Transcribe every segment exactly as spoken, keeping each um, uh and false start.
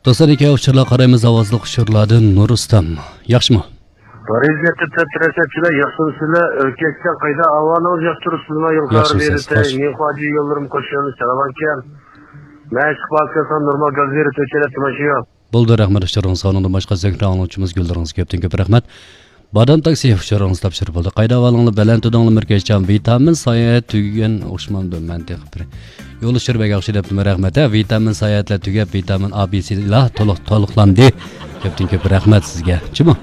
دوستلار، ئىككى ئۇچۇرلار قارايمىز، ئاۋازلىق ئۇچۇرلاردىن نۇرۇستام. ياخشىمۇ؟ پارىژدىكى تەپتىرەسەتچىلەر، ياخشىمۇسىلەر؟ ئۆركەشكەن قايدا، ئاۋازىڭىز ياخشى تۇرۇپسىزما؟ ياخشى، سىز تەكشى. مېنىڭ خاجى يوللىرىم قوشۇلۇش سالامان ئىكەن. مەن ئىشقا بارسام نورمال گاز بېرىپ ئۆچەلەپ تۇرمايشى يوق. بولدى، رەھمەت ئۇچۇرىڭىزغا. ئۇنىڭدىن باشقا زۆھرە ئاڭلىغۇچىمىز گۈللىرىڭىزگە كۆپتىن كۆپ رەھمەت. بادام تاكسى ئۇچۇرىڭىز تاپشۇرۇپ بولدى. قايدا ئاۋالىڭلار بەلەن تۇدۇڭلار مىركەچجان، ۋىتامىن ساياھەت تۈگىگەن ئوخشىمامدۇ مەن تېخى بىر. يول ئۇچۇر بەك ياخشى دەپتىمەن، رەھمەت. ھە، ۋىتامىن ساياھەتلەر تۈگەپ، ۋىتامىن ئا، بى، سى لا تولۇق، تولۇقلاندى. كۆپتىن كۆپ رەھمەت سىزگە. چىمۇ؟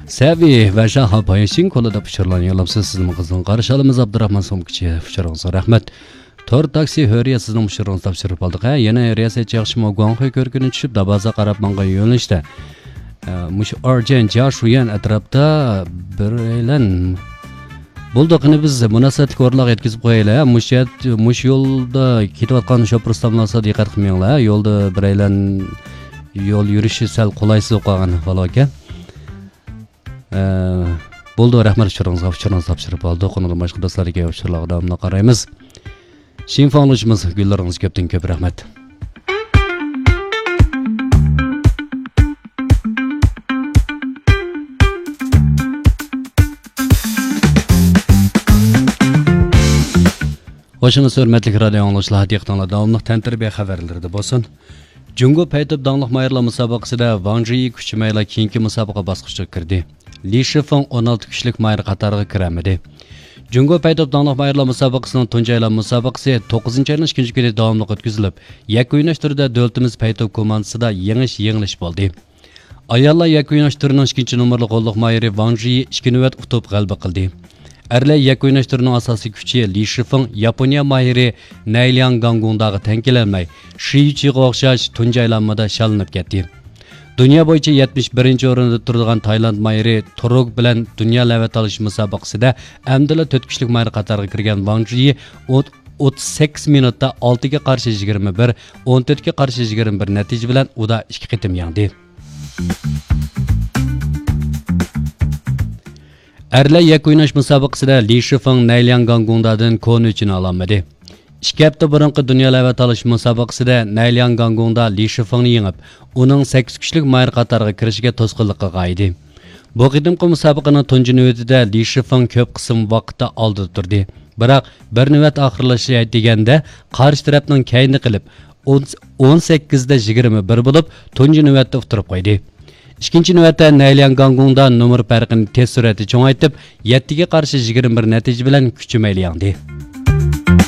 سەۋى ۋە شاھا پايشىن كولا دەپ ئۇچۇرلارنى يوللاپسىز. سىزنىڭ قىزغىن قارشى ئالىمىز ئابدۇراخمان سومكىچى. ئۇچۇرىڭىزغا رەھمەت. تور تاكسى ھۆرىيەت سىزنىڭ ئۇچۇرىڭىزنى تاپشۇرۇپ ئالدۇق. ھە، يەنە رىياسەتچى ياخشىمۇ؟ گۇاڭخۇي كۆركىنى چۈشۈپ، دابازا قاراپ ماڭغان يۆنىلىشتە. ئە، مۇشۇ ئارجەن، جياشۈيۈەن ئەتراپتا بىرەيلەن. بولدى، قېنى بىز مۇناسىۋەتلىك ئورۇنلارغا يەتكۈزۈپ قويايلى. ھە، مۇشۇ يەر، مۇشۇ يولدا كېتىۋاتقان شوپۇر ئۇستام بولسا دىققەت قىلماڭلار. ھە، يولدا بىرەيلەن يول يۈرۈشى سەل قولايسىز بولۇپ قالغان ئەھۋال باركەن. ئە، بولدى، رەھمەت ئۇچۇرىڭىزغا، ئۇچۇرىڭىزنى تاپشۇرۇپ ئالدۇق. ئۇنىڭدىن باشقا دوستلار، ئىككى ئۇچۇرلارغا داۋاملىق قارايمىز. شىنفاڭلىشىمىز، گۈللىرىڭىز كۆپتىن كۆپ رەھمەت. خوشىڭىز، ھۆرمەتلىك رادىيو ئاڭلىغۇچىلار، دىققىتىڭلار داۋاملىق تەنتەربىيە خەۋەرلىرىدە بولسۇن. جۇڭگو پەيتوپ داڭلىق ماھىرلار مۇسابىقىسىدە ۋاڭ جىيى كۈچىمەيلا كېيىنكى مۇسابىقە باسقۇچىغا كىردى. لى شىفېڭ ئون ئالتە كۈچلۈك ماھىر قاتارىغا كىرەلمىدى. جۇڭگو پەيتوپ داڭلىق ماھىرلار مۇسابىقىسىنىڭ تۇنجى ئايلانما مۇسابىقىسى توققۇزىنچى ئاينىڭ ئىككىنچى كۈنى داۋاملىق ئۆتكۈزۈلۈپ، يەككە ئويناش تۈرىدە دۆلىتىمىز پەيتوپ كوماندىسىدا يېڭىش، يېڭىلىش بولدى. ئاياللار يەككە ئويناش تۈرىنىڭ ئىككىنچى نومۇرلۇق غوللۇق ماھىرى ۋاڭ جىيى ئىككى نۆۋەت ئۇتۇپ غەلىبە قىلدى. ئەرلەر يەككە ئويناش تۈرىنىڭ ئاساسىي كۈچى لى شىفېڭ ياپونىيە ماھىرى نەيلياڭ گاڭگۇڭداغا تەڭ كېلەلمەي، شى يۈچىغا ئوخشاش تۇنجى ئايلانمىدا شاللىنىپ كەتتى. دۇنيا بويىچە يەتمىش بىرىنچى ئورۇندا تۇرىدىغان تايلاند ماھىرى تۇرۇگ بىلەن دۇنيا لەۋە تالىشىش مۇسابىقىسىدە ئەمدىلا تۆت كۈچلۈك ماھىر قاتارىغا كىرگەن ۋاڭ جىيى ئوت-، ئوتتۇز سەككىز مىنۇتتا ئالتىگە قارشى يىگىرمە بىر، ئون تۆتكە قارشى يىگىرمە بىر نەتىجە بىلەن ئۇدا ئىككى قېتىم يەڭدى. ئەرلەر يەككە ئويناش مۇسابىقىسىدە لى شىفېڭ نەيلياڭ گاڭگۇڭدادىن كونا ئۆچىنى ئالالمىدى. ئىككى ھەپتە بۇرۇنقى دۇنيا لەۋە تالىشىش مۇسابىقىسىدە نەيلياڭ گاڭگۇڭدا لى شىفېڭنى يېڭىپ، ئۇنىڭ سەككىز كۈچلۈك ماھىر قاتارىغا كىرىشىگە توسقۇنلۇق قىلغان ئىدى. بۇ قېتىمقى مۇسابىقىنىڭ تۇنجى نۆۋىتىدە لى شىفېڭ كۆپ قىسىم ۋاقىتتا ئالدىدا تۇردى. بىراق، بىر نۆۋەت ئاخىرلىشىشى دېگەندە قارشى تەرەپنىڭ كەينىدە قېلىپ، ئون، ئون سەككىزدە يىگىرمە بىر بولۇپ، تۇنجى نۆۋەتتە ئۇتتۇرۇپ قويدى. ئىككىنچى نۆۋەتتە نەيلياڭ گاڭگۇڭدا نومۇر پەرقىنى تېز سۈرئەتتە چوڭايتىپ، يەتتىگە قارشى يىگىرمە بىر نەتىجە بىلەن كۈچىمەيلا يەڭدى.